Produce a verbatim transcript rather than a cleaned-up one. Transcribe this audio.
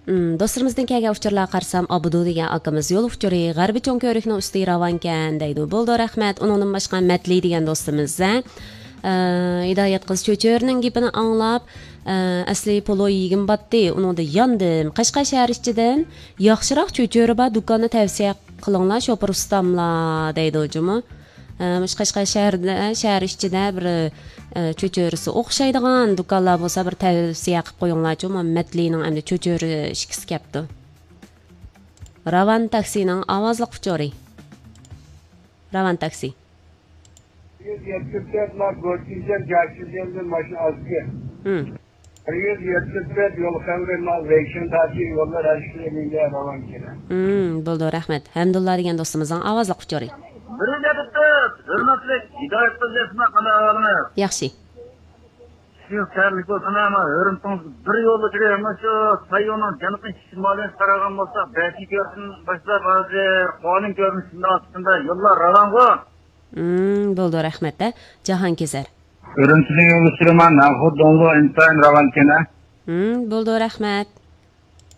ئىم، دوستلىرىمىزدىن كەلگەن ئۇچۇرلارغا قارىسام، ئابدۇ دېگەن ئاكىمىز يول ئۇچۇرى غەربىي چوڭ كۆۋرۈكنىڭ ئۈستى راۋانكەن دەيدۇ. بولىدۇ، رەھمەت. ئۇنىڭدىن باشقا مەتلى دېگەن دوستىمىز، ھە، ئە، ھىدايەت قىز چۆچۈرىنىڭ گېپىنى ئاڭلاپ، ئە، ئەسلى پولۇ يېگۈم باتتى، ئۇنىڭدا ياندىم. قەشقەر شەھەر ئىچىدىن ياخشىراق چۆچۈرە بار دۇكاننى تەۋسىيە قىلىڭلار، شوپۇر ئۇستاملار دەيدۇ جۇمۇ. ئە، مۇشۇ قەشقەر شەھىرىدە، شەھەر ئىچىدە بىر، ئە، چۆچۈرىسى ئوخشايدىغان دۇكانلار بولسا بىر تەۋسىيە قىلىپ قويۇڭلارچۇ، مەتلىنىڭ ئەمدى چۆچۈرە ئىچكۈسى كەپتۇ. راۋان تاكسىنىڭ ئاۋازلىق ئۇچۇرى. راۋان تاكسى. يۈز يەتمىش تۆت ما گوتىنجەن جاشىجەندىن ماشىنا ئازدى. ھىم. بىر يۈز يەتمىش تۆت يول خەۋىرى ما ۋېيشىن تاشى يوللار ھەرىكىتى مېنگە راۋان كېلە. ھىم، بولدى، رەھمەت. ھەمدۇللا دېگەن دوستىمىزنىڭ ئاۋازلىق ئۇچۇرى. بىر يۈز يەتمىش تۆت، ھۆرمەتلىك ھىدايەت قىز ئەسما، قانداق ئەھۋالىڭىز؟ ياخشى. سىز تەرلىك بولسىلا، ما ھۆرمىتىڭىز بىر يولدا كىرىپ، ما شۇ سايونىڭ جەنۇبىي شىمالىغا قارىغان بولسا، بەشىنچى كۆۋرۈكتىن باشلاپ ھازىر ئونىنچى كۆۋرۈكنىڭ ئىچىدە يوللار راۋانغۇ. ھىم، بولدى، رەھمەت، ھە. جاھانكېزەر. ئۈرۈمچىدىن يول سۈرىمەن، ناخۇد دونلۇ ئىنتايىن راۋانكەن، ھە. ھىم، بولدى، رەھمەت.